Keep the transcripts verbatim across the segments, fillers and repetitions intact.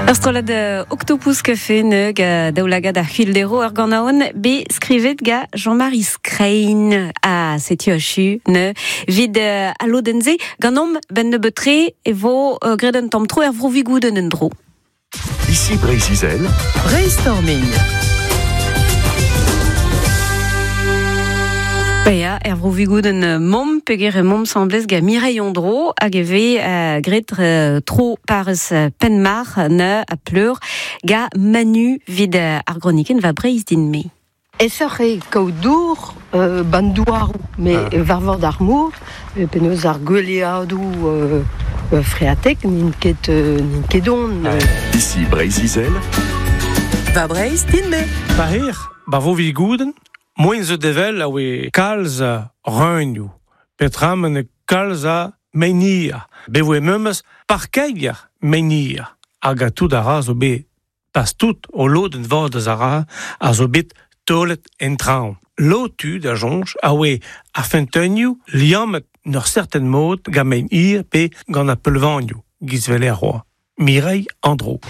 Ur strollad Octopus Café ne ga daoulagad ar c'hwildero ur ganaouenn be skrivet ga Jean-Marie Skrein a setu achu ne vid uh, a lodenn-se ganeomp 'benn nebeut-tre e vo uh, graet un tamm tro er vro Vigoudenn en-dro. Ici Breizh-Izel. Brainstorming. Ba ya, er vro Vigoudenn 'momp peogwir emaomp asambles ga Mireille Andro hag e vez uh, graet uh, tro parrez Penmarc'h ne a Pleure ga Manu vid uh, ar gronikenn va Breizh din-me. Aesoc'h eo kaout dour euh, ban douaroù, met Ah. war vord ar mor, euh, penaos ar gweleadoù euh, euh, freatek n'int ket, euh, n'int ket don. Euh. Ici Breizh-Izel. Va Breizh din-me. Pa hir, ba vo Vigoudenn, moen zo devel a oe kalz a reunioù, petramen e kalz a meinir. Be voe memes parkeier meinir. Hag a tout a ra zo bet pas tout o lodenn vad eus a ra a zo bet taolet en traoñ. Lo tud a soñj a oe ar feunteunioù liammet n'ur certain mod gant mein hir pe gant ar peulvanioù, giz vel er roa. Mireille Andro.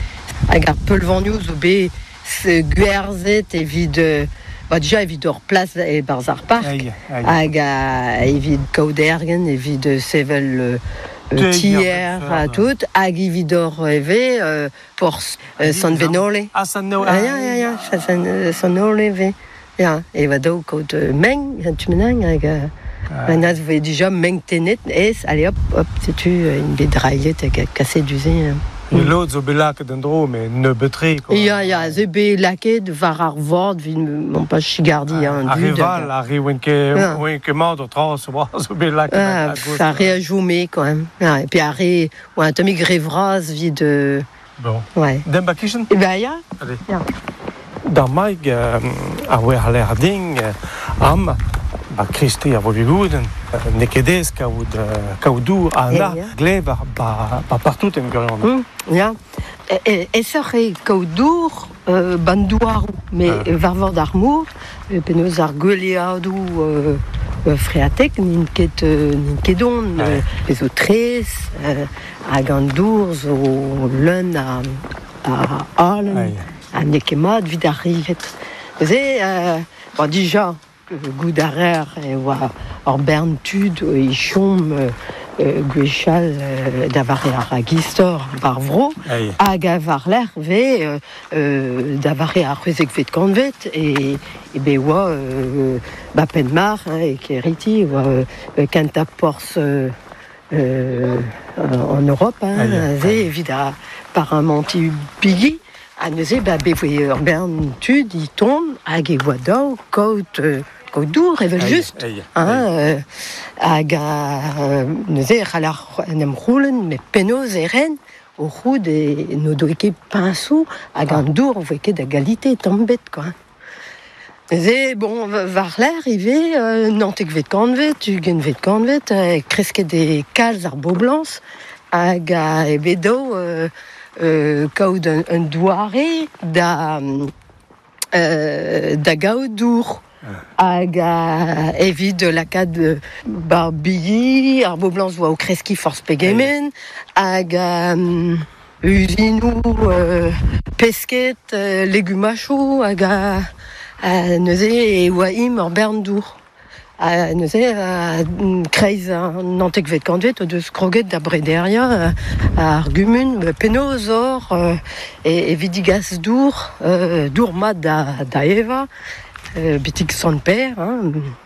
Hag ar peulvanioù zo bet se gwerzhet evit euh, ba dija evit ur plas e barzh ar park. Aïe, aïe. Hag a, evit kaout ergen, evit euh, sevel euh, Teuier, tier ha ha tout, hag evit ur eve euh, porzh euh, Sant Venole. Ah, Sant Venole. Ah, ya, ya, ya, Sant, euh, Sant Venole ve. Ya, e va daou kaout euh, meng, tu menang, hag euh, Ah. un az voe dija meng tenet, ez, allez hop, hop, setu euh, int bet drailhet hag a kaset du-se. Hein. Mm. Lod zo bet lakaet en-dro, met nebeut-tre, quoi. Ya, ya, ze bet lakaet war ar vord, evit m'on pas chigardi, hein, Ar re dud. val, ar re oen ket, Ya. oen ket mat o tra, zo oa, zo bet lakaet Ah, a gauche. ar re a joume, quand même. Ah, et puis ar re, oa un tammig re vras evit euh, Bon. ouais. Dem ba kichen? E ben ya. Allez. Ya. D'ar maig euh, ar oe ar l'air ding euh, am ba Kristi ar vo Vigoudenn euh, n'eo ket aes kaout, euh, kaout dour a Eh, na ya. gleb ar ba, ba partout en gwirionez. Mm, ya. E, e, aesoc'h eo kaout dour euh, ban douaroù, met Ah. war vord ar mor, euh, penaos ar gweleadoù euh, euh, freatek n'int ket, euh, n'int ket don, Ouais. euh, pe zo traezh, euh, hag an dour zo leun a, a halen, Aïe. ha n'eo ket mat evit ar rivet. Neuze, euh, bon, dija, goût a reer e oa ur bern tud e chom euh, euh, gwechall euh, da vare ar ragistor war vro, Aïe. hag a war lerc'h ve euh, euh, da vare ar c'hwezekvet kantved e, e be oa euh, ba Penmarc'h hein, e Keriti oa euh, kentañ porzh euh, euh, en Europe hein, Aïe, aze aïe. evit ar paramanti bigi ha neuze ba be voe ur bern tud i tont hag e oa daou kaout euh, kaout dour evel Aïe, just. aïe, Hein, aïe. euh, hag a, euh, neuze e c'hall ar en em c'houlenn, met penaos e ren o c'houd e n'o doe ket piñsoù hag an dour voe ket da galite tamm bet, quoi. Neuze, bon, war-lerc'h ivez, euh, naontekvet kantved, ugentvet kantved, euh, kresket e kalz ar boblañs, hag a e bet daou euh, euh, kaout un, un doare da, euh, da gaout dour. Hag a evit lakaat euh, bar bigi, ar boblañs oa o kreskiñ forzh pegement, hag a um, uzinoù euh, pesked, euh, legumachoù, hag a, a neuze e oa im ur bern dour. Ha neuze a kreiz an naontekvet kantved o deus kroget da brederiañ euh, ar gumun penaos or euh, e, evit digas dour, euh, dour mat da, da evañ, euh, betek Sant-Pêr, hein.